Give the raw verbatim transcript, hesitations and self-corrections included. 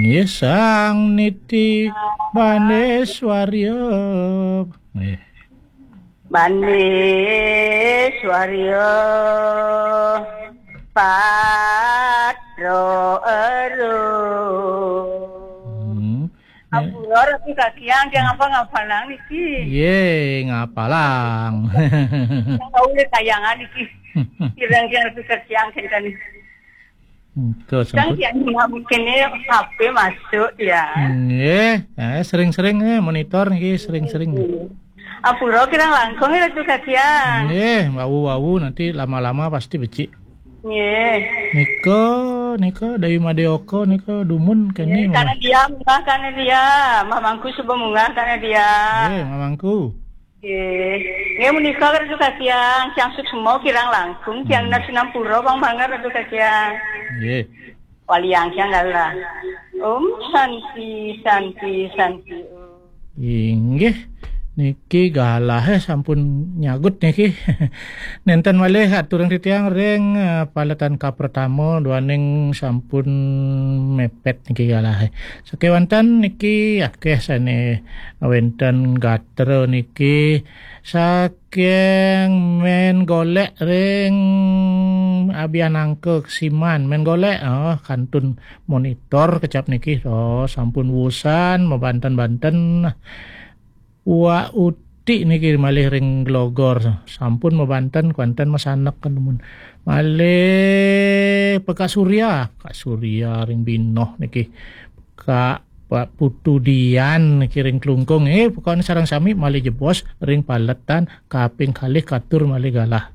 Nggih, Sang Niti Baneswarya. Nggih. Baneswarya Patro Eru. Hmm. Ampura Ratu Kakiang, dia ngapa ngapalang niki? Ye, ngapalang. Yang tahu le kayangan niki. Kirang-kirang Ratu Kakiang kenten. Engko Kan sampun. Kian mungkin ini H P masuk ya. Nggih, eh, sering-sering eh, monitor nggih sering-sering. Ampura kirang langkung ya Ratu Kakiang. Nggih, wau-wau nanti lama-lama pasti becik. Nggih. Nika, nika Dayu Madeoka nika dumun kene. Nggih, karena dia munggah karena dia, Mamangku suba munggah karena dia. Nggih, Mamangku. Nggih. Nggih menika Ratu Kakiang, tiang suksma kirang langkung, tiang Hmm. Nas Nampura bang banget Ratu Kakiang. Nggih. Waliang tiang galah. Om Santi, Santi, Santi. Om. Inggih. Niki galah eh, sampun nyagut niki. Nenten malih aturang titiang ring eh, paletan kapertama duaning sampun mepet niki galah eh. Sakewanten niki akeh sane wenten gatra niki saking men golek ring abian angka kesiman men golek oh kantun monitor kecap niki oh sampun wusan mabanten-banten. Wak utik niki malih ring glogor sampun mabanten kuanten masanek kenemun malih pekak surya kak surya ring binoh niki kak Pak Putu Dian niki ring Klungkung eh pokoknya sarang sami malih jebos ring paletan kaping kalih katur malih galah.